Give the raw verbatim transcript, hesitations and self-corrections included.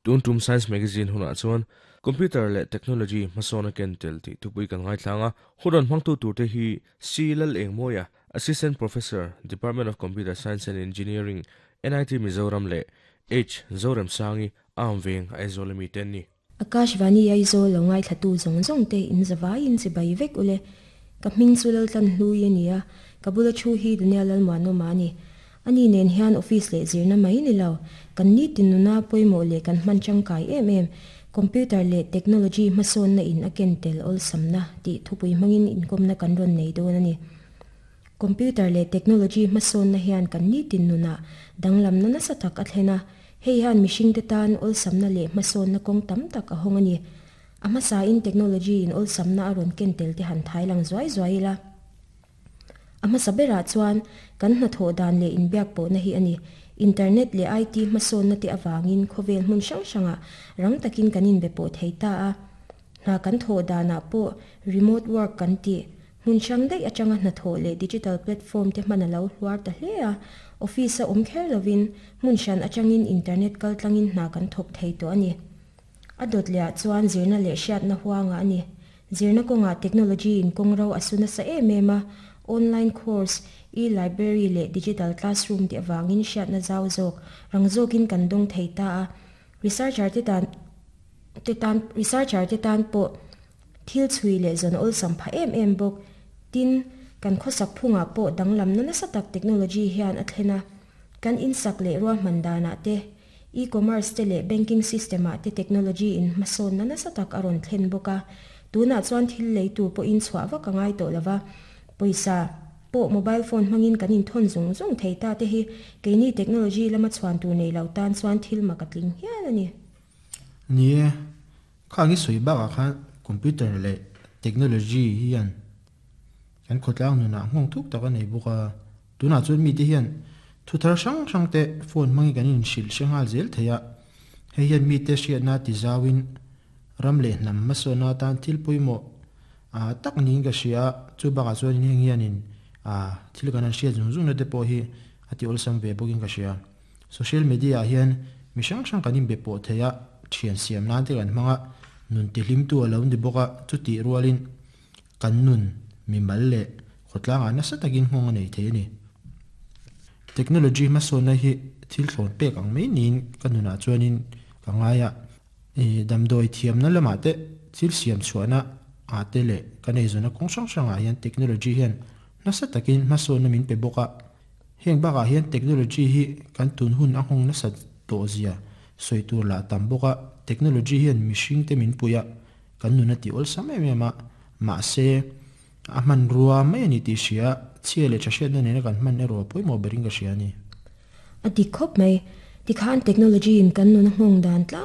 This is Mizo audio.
Tun tum Science Magazine hunah chuan Computer leh Technology hmasawn a ken tel tih thupui kan ngaithlang a, hun rawn hmangtu turte hi C Lalengmawia, Assistant Professor, Department of Computer Science and Engineering, N I T Mizoram leh H Zoremsangi, Amveng, Aizawl ami te an ni. Akashvani Aizawl lo ngaithlatu zawng zawng te in zavaiin chibai vek ule. Ka hming chu Laltlan Hlui a ni a, ka bula thu hi Daniel Lalmuanawma a ni. Ani nen hian office leh zirna mai ni lo, kan nitin nuna pawimawh leh kan hman tangkai em em computer leh technology hmasawnna in a ken tel awlsamna tih thupui hmangin inkawmna kan rawn nei dawn a ni. Computer leh technology hmasawnna hian kan nitin nunah danglamna nasa tak a thlen a, hei hian mihringte tan awlsamna leh hmasawnna kawng tam tak a hawng a ni. A hmasain technology in awlsamna a rawn ken tel te han thai lang zuai zuai ila. A hmasa berah chuan kan hnathawh dan leh inbiak pawhna hi a ni. Internet leh I T hmasawnna te avangin khawvel hmun hrang hrangah rang takin kan inbe pawh thei ta a. Hna kan thawh danah pawh remote work kan tih hmun hrang daih atanga hnathawh leh digital platform te hman a lo hluar ta hle a. Office a awm kher lovin hmun hran atangin internet kal tlangin hna kan thawk thei tawh a ni. A dawt lehah chuan zirna leh hriatna huanga a ni. Zirna kawngah technology in kawng ro a su nasa em em a, online course, e-library leh digital classroom te awangin hriatna zau zawk rang zawkin kan dawng thei ta a. Researcher te tan te tan researcher te tan pawh thil chhui leh zawn awlsam pha em em bawk. Tin, kan khawsak phungah pawh danglamna nasa tak technology hian a thlen a. Kan insak leh ruahman danah te, e-commerce te leh banking system ah te technology in hmasawnna nasa tak a rawn thlen bawk a. Tunah chuan thil lei tur pawhin chhuah vak a ngai tawh lova, pawisa pawh mobile phone hmangin kan inthawn zung zung thei ta te hi keini technology lama chhuan tur nei lo tan chuan thil mak a tling hial a ni. Ni e, khang i sawi bakah khan computer leh technology hian kan khawtlang nunah nghawng thuk tak a nei bawk a. Tunah chuan mite hian thu thar hrang hrang te phone hmangin kan inhrilh hre nghal zel thei a. Hei hian mite hriatna ti zauin ram leh hnam hmasawnna atan thil pawimawh tak niin ka hria a. Chu bakah chuan heng hianin thil kan han hriat zung zungna te pawh hi a ti awlsam ve bawkin ka hria. Social media ah hian mi hrang hrang kan inbe pawh thei a, thian siam nan te kan hmang a, nun tihlimtu a lo ni bawk a. Chutih rualin kan nun mimal leh khawtlangah nasa takin nghawng a nei thei a ni. Technology hmasawnna hi thil thlawn pek ang mai niin ka nunah chuanin ka ngai a. Damdawi thiamna lamah te, thil siam chhuahna ah te leh kan eizawnna kawng hrang hrangah hian technology hian nasa takin hmasawnna min pe bawk a. Heng bakah hian technology hi kan tun hun a nghawng nasa tawh zia sawi tur lah tam bawk a. Technology hian mihring te min pui a, kan nun a ti awlsam em em a, mahse a hmanrua mai a ni tih hria chhia leh tha hriatna nena kan hman erawh pawimawh berin ka hria a ni. A dik khawp mai. Tikhan technology in kan nun a nghawng dan tlang